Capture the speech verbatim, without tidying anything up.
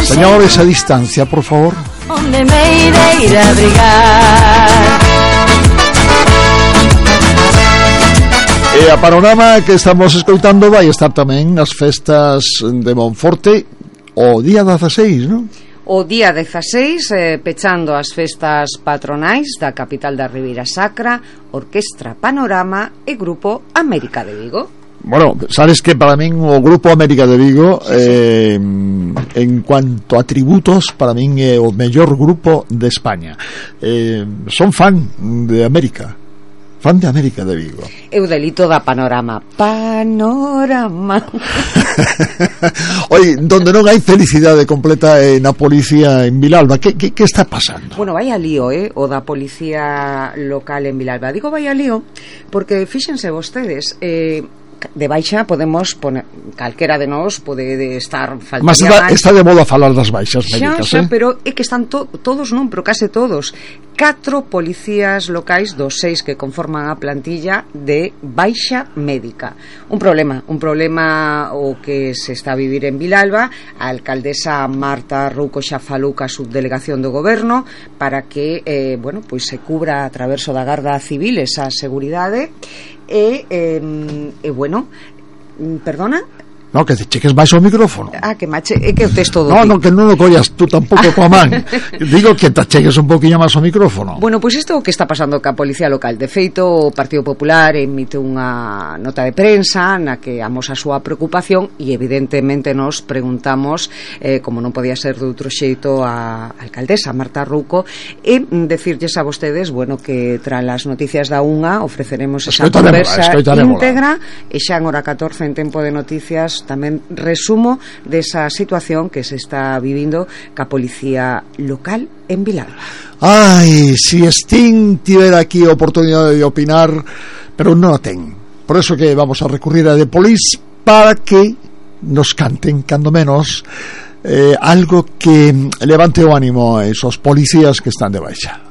Señores, a distancia, por favor. Onde me irei ir a abrigar. E a panorama que estamos escoitando vai estar tamén nas festas de Monforte o día dezaseis, non? O día dezaseis, eh, pechando as festas patronais da capital da Ribeira Sacra, Orquestra Panorama e Grupo América de Vigo. Bueno, sabes que para min o Grupo América de Vigo, eh, en cuanto a tributos, para min é o mellor grupo de España. Eh, son fan de América. Fan de América de Vigo. Eu delito da Panorama. Panorama. Oi, donde non hai felicidade completa é na policía en Vilalba. Que, que, que está pasando? Bueno, vai a lío, eh, o da policía local en Vilalba. Digo vai a lío porque fíxense vostedes, eh, de baixa podemos poner, calquera de nós pode estar faltaría. Mas está, está de moda falar das baixas médicas, xa, xa, eh? pero é que están to, todos non, pero case todos. Catro policías locais dos seis que conforman a plantilla de baixa médica. Un problema, un problema o que se está a vivir en Vilalba. A alcaldesa Marta Rouco xa falou ca subdelegación do goberno para que, eh, bueno, pois se cubra a traverso da Garda Civil esa seguridade. E, eh, e bueno, perdona? No, que te cheques baixo o micrófono. Ah, que mache, é que o texto do No, ti. no, que non o collas tú tampouco coa man. Digo que te cheques un poquinho máis o micrófono. Bueno, pois isto é o que está pasando ca Policía Local. De feito, o Partido Popular emite unha nota de prensa na que amosa a súa preocupación e evidentemente nos preguntamos, eh, como non podía ser de outro xeito, a alcaldesa Marta Rouco, e decirlles a vostedes, bueno, que tras as noticias da unha ofreceremos esa conversa íntegra e xa en hora catorce en Tempo de Noticias tamén resumo desa situación que se está vivindo ca policía local en Vilalba. Ai, si Sting tivera aquí a oportunidade de opinar, pero non a ten. Por eso que vamos a recurrir a The Police para que nos canten, cando menos, eh, algo que levante o ánimo a esos policías que están de baixa.